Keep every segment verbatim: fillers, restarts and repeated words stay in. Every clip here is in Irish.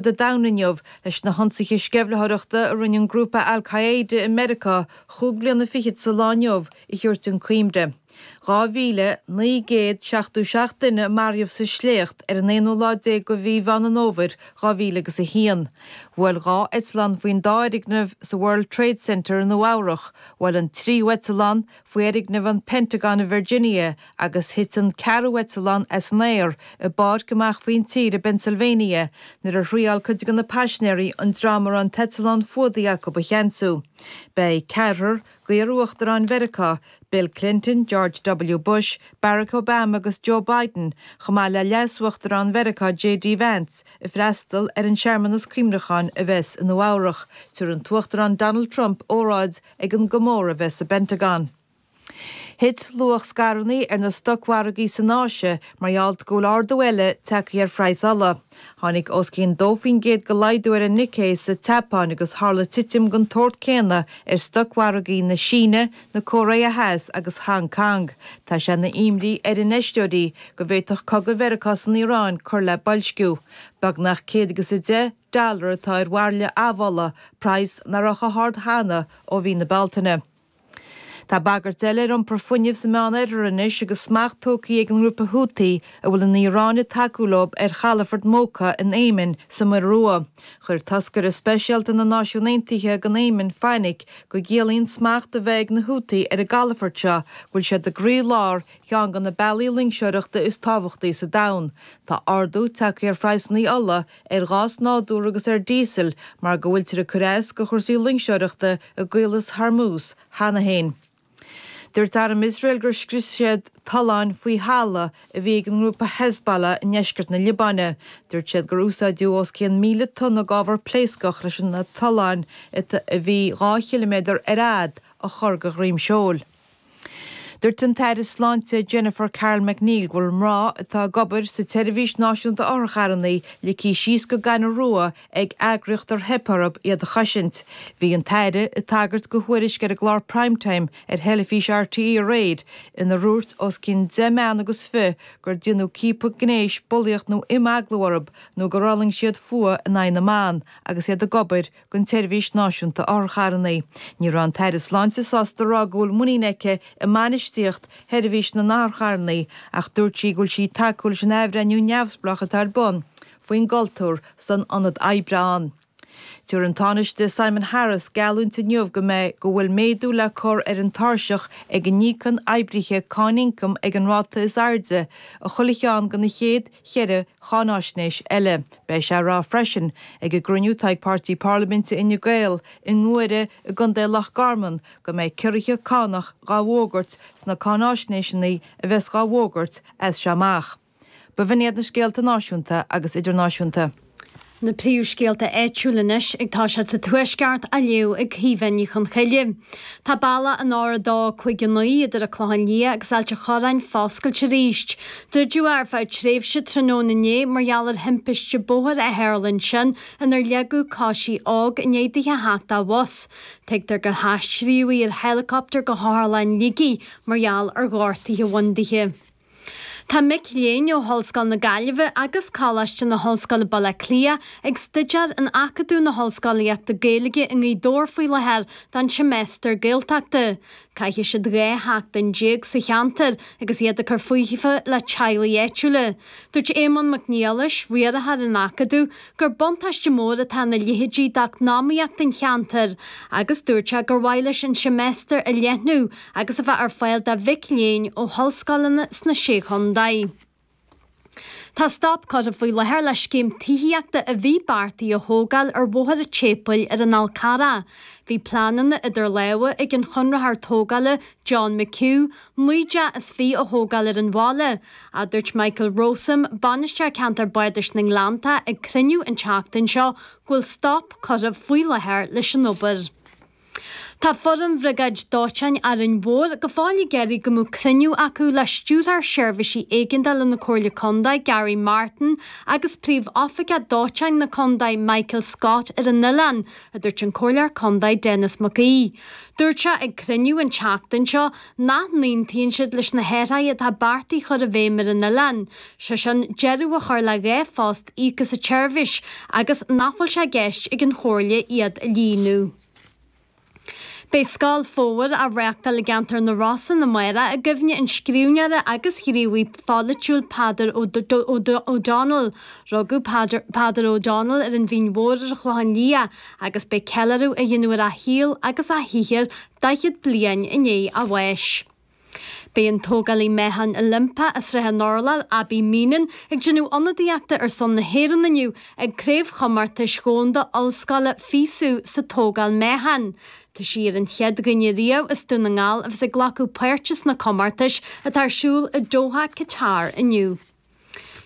fud an domhain inniu leis na hionsaithe sceimhlitheoireachta a rinne an grúpa Al Qaeda i Meiriceá chúig bliana fichead sa lá inniu a thabhairt chun cuimhne. Dhá mhíle naoi gcéad seachtó seacht duine a maraíodh sa sléacht ar an aonú lá déag de mhí Mheán an Fhómhair dhá mhíle agus a haon. Bhuail dhá eitleán faoin dá fhoirgneamh sa World Trade Center i Nua Eabhrach, bhuail an tríú eitleán faoi fhoirgneamh an Pentagon i Virginia agus thit an ceathrú eitleán as an aer i bpáirc amach faoin tír i bPennsylvania nuair a thriáil cuid de na paisinéirí an dream a raibh an t-eitleán fuadaithe acu a cheansú. Beidh ceathrar d'iar-uachtaráin Mheiriceá, Bill Clinton, George W. Bush, Barack Obama agus Joe Biden, chomh maith le leas-uachtarán Mheiriceá J.D. Vance, ag freastal ar an searmanas cuimhneacháin a bheas i Nua Eabhrach. Tabharfaidh an tUachtarán Donald Trump óráid ag an gcomóradh a bheas sa bPentagon. Thit luach scaireanna ar na stocmhargaí san Áise mar gheall go bhfuil ardú eile tagtha ar phraghas ola. Tháinig os cionn dó faoin gcéad de laghdú ar an Nikkei sa tSeapáin agus tharla titim den tsórt céanna ar stocmhargaí na Síne, na Cóiré Theas agus Hong Kong. Tá sé ina imní ar infheisteoirí go bhféadfadh cogadh Mheiriceá san Iaráin cur le boilsciú. Beagnach céad agus a deich dollar atá ar bhairille amhola, praghas nach raibh chomh hard cheana ó mhí na Bealtaine. Tá bagairt eile ar iompar fuinnimh sa Meánoirthear anois agus smacht tógtha ag an ngrúpa Houthi a bhfuil an Iaráin ag tacú leo ar chalafort Mocha in Éimin sa Muir Rua. Chuir toscaire speisialta na Náisiún Aontaithe don Éimin fainic go gciallaíonn smacht a bheith ag na Houthi ar an gcalafort seo go bhfuil siad i gcroílár cheann de na bealaí loingseoireachta is tábhachtaí sa domhan. Tá ardú tagtha ar phraghsanna ola, ar ghás nádúrtha agus ar díosal mar go bhfuiltear ag cur as do chúrsaí loingseoireachta i gCaolas Hormuz cheana féin. Dúirt arm Iosrael gur scrios siad tolláin faoi thalamh a bhí ag an ngrúpa Hezbollah i ndeisceart na Liobáine. Dúirt siad gur úsáideadh os cionn míle tonna d'ábhar pléascach leis na tolláin a bhí dhá chiliméadar ar fhad a chur de dhroim seoil. Dúirt an tAire Sláinte Jennifer Carroll MacNeill go bhfuil mná atá ag obair sa tSeirbhís Náisiúnta Otharcharranna ligthe síos go gaineamh rua ag eagraíocht ar theip orthu iad a chosaint. Bhí an tAire ag tagairt do thuairisc ar an gclár Primetime ar theilifís RTÉ aréir inar dhúirt os cionn deich mbean agus fiche gur déanadh ciapadh gnéis, bulaíocht nó imeaglú orthu nó gur fhulaing siad fuath in aghaidh na mban agus iad ag obair don tSeirbhís Náisiúnta Otharcharranna. Ní raibh an tAire Sláinte sásta a rá go bhfuil muinín aici i mbainistíocht sheirbhís na n-otharcharranna ach dúirt sí go bhfuil sí ag tacú leis an athbhreithniú neamhspleách atá ar bun faoin gcultúr san ionad oibre ann. Tabharfaidh an Tánaiste Simon Harris geallúint inniu go mbeidh go bhfuil méadú le cur ar an tairseach ag a n-íocann oibrithe cáin ioncaim ag an ráta is airde i chuile cheann de na chéad cheithre cháinaisnéis eile. Beidh sé á rá freisin ag an gcruinniú atá ag Páirtí Parlaiminte Fhine Gael i nGuaire i gContae Loch Garman go mbeidh ciorruithe cánach dhá bhfógairt sna cáinaisnéiseanna a bheas dhá bhfógairt as seo amach. Ba bh'in iad na scéalta náisiúnta agus idirnáisiúnta. Na príomhscéalta áitiúla anois ag toiseacht sa Tuaisceart á léamh ag Caoimhe Ní Chonchoille. Tá bealach an R a dó cúig a naoi idir an Clochán Liath agus Ailt an Chorráin foscailte arís. Druideadh é ar feadh tréimhse tráthnóna inné mar gheall ar thimpiste bóthair a tharla ansin inar leagadh coisí óg i ndiaidh di a theacht de bhus. Tuigtear gur haistríodh í ar héileacaptar go hOtharlann Shligigh mar gheall ar ghortuithe a bhain dithe. Tá mic léinn ó Ollscoil na Gaillimhe agus Coláiste na hOllscoile Baile Átha Cliath ag staidéar in Acadamh na hOllscolaíochta Gaeilge i nGaoth Dobhair faoi láthair don seimeastar Gaeltachta. Caithfidh siad dhá sheachtain déag sa cheantar agus iad ag cur fúthu le teaghlaigh áitiúla. Dúirt Éamonn Mac Niallais, riarthóir an Acadaimh, gur buntáiste mór atá ina leithéidí d'eacnamaíocht an cheantair agus dúirt sé gur mhaith leis an seimeastar a leathnú agus a bheith ar fáil do mhic léinn ó ollscoileanna sna Sé Chontae. Tá stop curtha faoi láthair le scéim tithíochta a bhí beartaithe a thógáil ar Bhóthar an tSéipéil ar an Fhál Carrach. Bhí pleananna idir lámha ag an chonraitheoir tógála John McHugh naoi dteach is fiche a thógáil ar an bhaile. Ach dúirt Michael Rowsome, bainisteoir ceantar Bardais na nGleannta ag cruinniú an tseachtain seo go bhfuil stop curtha faoi láthair leis an obair. Tá foireann Bhriogáid Dóiteáin Árainn Mhór go fóill ag iarraidh go mbeadh cruinniú acu le Stiúrthóir Seirbhísí Éigeandála na Comhairle Contae, Gary Martin, agus Príomh-Oifigeach Dóiteáin na Contae, Michael Scott, ar an oileán, a dúirt an Comhairleoir Contae Denis Mac Aoidh. Dúirt sé ag cruinniú an tseachtain seo nach n-aontaíonn siad leis na hathruithe atá beartaithe chur i bhfeidhm ar an oileán, sé sin deireadh a chur le dhá phost íoctha sa tseirbhís agus nach bhfuil sé i gceist ag an Chomhairle iad a líonadh. Beidh Scoil Fómhair á reáchtáil i gceantar na Rosann amárach i gcuimhne an scríbhneora agus ghníomhaí pholaitiúil Peadar O'Donnell. Rugadh Peadar O'Donnell ar an Mhín Mhór ar an Chlochán Liath agus beidh ceiliúradh á dhéanamh ar a shaol agus a shaothar daichead bliain i ndiaidh a bháis. Beidh an tógálaí meáchan Oilimpeach as Srath an Urláir, Abbie Meenan, ag déanamh ionadaíochta ar son na hÉireann inniu ag Craobhchomórtais Dhomhanda Ollscoile FISU sa tógáil meáchan. Tá sí ar an chéad dhuine riamh as Dún na nGall a bheas ag glacadh páirte sna comórtais atá ar siúl i Doha, Qatar inniu.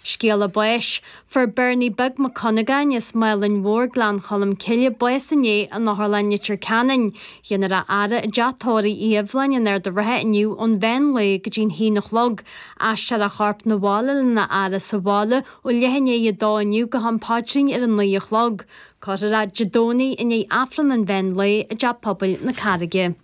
Scéala báis. Fuair Bernie Beag Mac Cuinneagáin as Málainn Mhór, Gleann Cholm Cille, bás inné in Otharlann Leitir Ceanainn. Dhéanfar a fhaire i dteach tórraimh Uí Aibhleáin in Ard a' Rátha inniu ón mheán lae go dtí'n haon a chlog. Aistreofar a chorp 'na bhaile lena fhaire sa bhaile ó leath i ndiaidh a dó inniu go ham paidrín ar a naoi a chlog. Cuirfear é Dé Domhnaigh i ndiaidh Aifreann an mheán lae i dTeach Pobail na Carraige.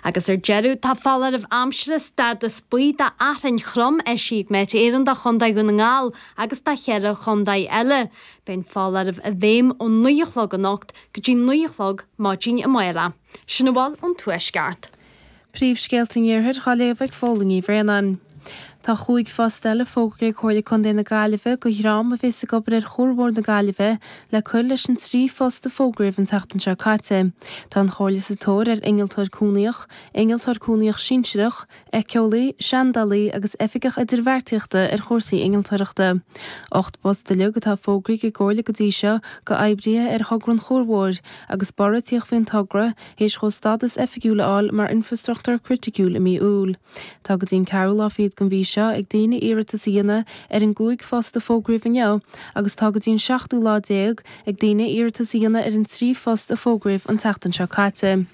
Agus ar deireadh, tá foláireamh aimsire stádas buí d'fhearthainn throm eisithe ag Met Éireann do Chontae Dhún na nGall agus do cheithre chontae eile. Beidh an foláireamh i bhfeidhm ó naoi a chlog anocht go dtí naoi a chlog maidin amárach. Sin a bhfuil ón Tuaisceart. Príomhscéalta an Iarthair á léamh ag Fódhla Ní Bhraonáin. Tá chúig phost eile fógraithe ag Comhairle Contae na Gaillimhe do dhream a bheas ag obair ar Chuar Mhór na Gaillimhe le cur leis an trí phost a fógraíodh an tseachtain seo caite. Tá an Chomhairle sa tóir ar innealtóir cúnaíoch, innealtóir cúnaíoch sinsearach, éiceolaí, seandálaí agus oifigeach idirbheartaíochta ar chúrsaí innealtóireachta. Ocht bpost uilig atá fógraithe ag an gComhairle go dtí seo do oibrithe ar thogra an Chuair Mhóir agus borradh ag tíocht faoin togra théis dhó stádas oifigiúil a fháil mar infreastruchtúr criticiúil i mí Iúil. Tá go dtí an ceathrú lá fichead den mhí seo ag daoine iarratas a dhéanamh ar an gcúig phost a fógraíodh inniu agus tá go dtí an seachtú lá déag ag daoine iarratas a dhéanamh ar an trí phost a fógraíodh an tseachtain seo caite.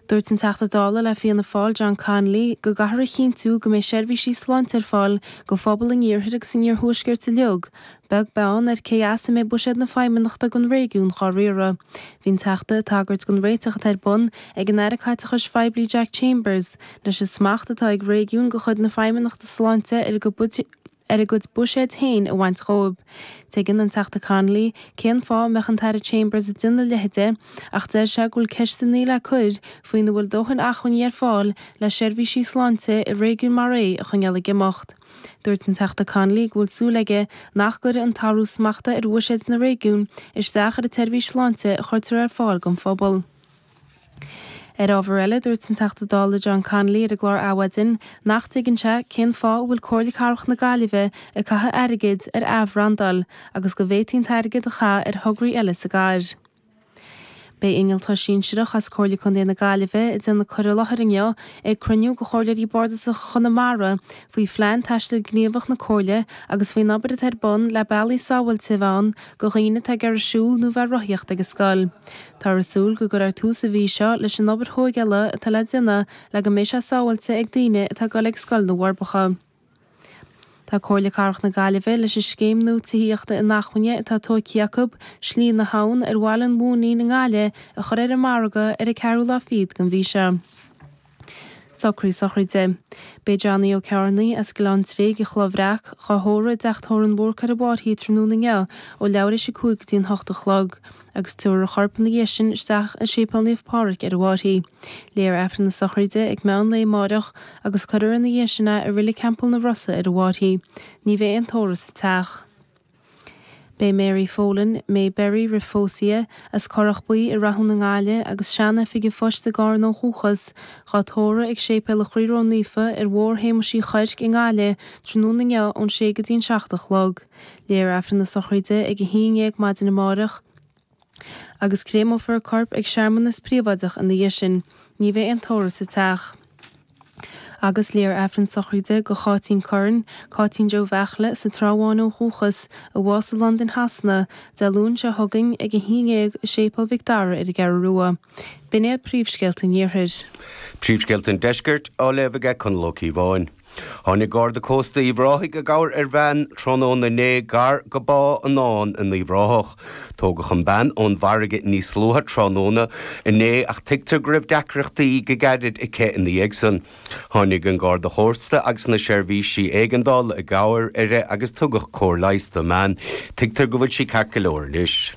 Dúirt an Teachta Dála le Fianna Fáil John Connolly go gcaithfear a chinntiú go mbeidh seirbhísí sláinte ar fáil do phobal an iarthair agus an iarthuaiscirt uilig, beag beann ar cé as a mbeidh buiséad na Feidhmeannachta don réigiún á riaradh. Bhí an Teachta ag tagairt don réiteach atá ar bun ag an Aire Caiteachais Phoiblí Jack Chambers leis an smacht atá ag réigiúin de chuid na Feidhmeannachta Sláinte ar a gcuid ar a gcuid buiséid féin a bhaint dhóibh. Tuigeann an Teachta Connolly cén fáth a mbeadh an tAire Chambers ag déanamh a leithide ach deir sé go bhfuil ceisteanna le cur faoina bhfuil dóthain acmhainní ar fáil le seirbhísí sláinte i réigiún mar é a choinneáil ag imeacht. Dúirt an Teachta Connolly go bhfuil súil aige nach gcuirfidh an t-athrú smachta ar bhuiséid na réigiún isteach ar an tseirbhís sláinte a chuirtear ar fáil don phobal. Ar ábhar eile, dúirt an Teachta Dála John Connolly ar an gclár Adhmhaidin nach dtuigeann sé cén fáth a bhfuil Comhairle Cathrach na Gaillimhe ag caitheamh airgid ar athbhrandáil agus go bhféadfaí an t-airgead a chaitheamh ar thograí eile sa gcathair. Beidh innealtóir sinsearach as Comhairle Contae na Gaillimhe ag déanamh cur i láthair inniu ag cruinniú de Chomhairleoirí Bardasacha Chonamara faoi phlean taistil gníomhach na Comhairle agus faoin obair atá ar bun le bealaí sábháilte a bheith ann do dhaoine atá ag iarraidh siúl nó bheith ag rothaíocht ag an scoil. Táthar ag súil go gcuirfear tús an mhí seo leis an obair thógála atá le déanamh le go mbeidh sé sábháilte ag daoine atá ag dul ag Scoil na bhForbacha. Tá Comhairle Cathrach na Gaillimhe leis an scéim nua tithíochta inacmhainne atá tógtha acu, Slí na hAbhann ar Bhaile an Mhóinín i nGaillimh, a chur ar an margadh ar an ceathrú lá fichead den mhí seo. Socruithe sochraide. Beidh Johnny Ó Cearnaigh as Gleann Tréig i Chloich Bhreac, dhá thórramh i dteach tórraimh an Bhúrcaigh ar an Fhairche tráthnóna inniu ó leathuair théis a cúig go dtí an hocht a chlog, agus tabharfar a chorp ina dhiaidh sin isteach i Séipéal Naomh Pádraig ar an bhFairche. Léifear Aifreann na sochraide ag meán lae amáireach agus cuirfear ina dhiaidh sin é i Reilig Theampall na Rosa ar an bhFairche. Ní bheidh aon tórramh sa teach. Beidh Mary Folan, May Berry roimh phósadh, as Corrach Buí i Rathún i nGaillimh agus sean-oifigigh phoist i gCarna ó dhúchas, dhá tórramh ag Séipéal an Chroí Ró-Naofa ar Bhóthar Shéamuis Uí Chuirc i nGaillimh tráthnóna inniu ón sé go dtí an seacht a chlog. Léifear Aifreann na sochraide ag a haon dhéag maidin amáireach agus créamófar a corp ag searmanas príobháideach ina dhiaidh sin. Ní bheidh aon tórramh sa teach. Agus léifear Aifreann sochraide do Cháitín Curran, Cáitín Joe Bheartla sa Trá Bháin ó dhúchas, a bhásaigh i Londain Shasana, Dé Luain seo chugainn ag a haon dhéag i Séipéal Mhic Dara ar an gCeathrú Rua. B'in iad príomhscéalta an Iarthair. Príomhscéalta an Deiscirt á léamh aige Conall Ó Cíobháin. Tháinig Garda Cósta Uíbh Ráthaigh i gcabhair ar bhean tráthnóna inné gar go Bá an Fháin in Uíbh Ráthach. Tógadh an bean ón bhfarraige níos luaithe tráthnóna inné ach tuigtear go raibh deacrachtaí go gairid aici ina dhiaidh san. Tháinig an Garda Chósta agus na seirbhísí éigeandála i gcabhair uirthi agus tugadh cóir leighis don mbean. Tuigtear go bhfuil sí ceart go leor anois.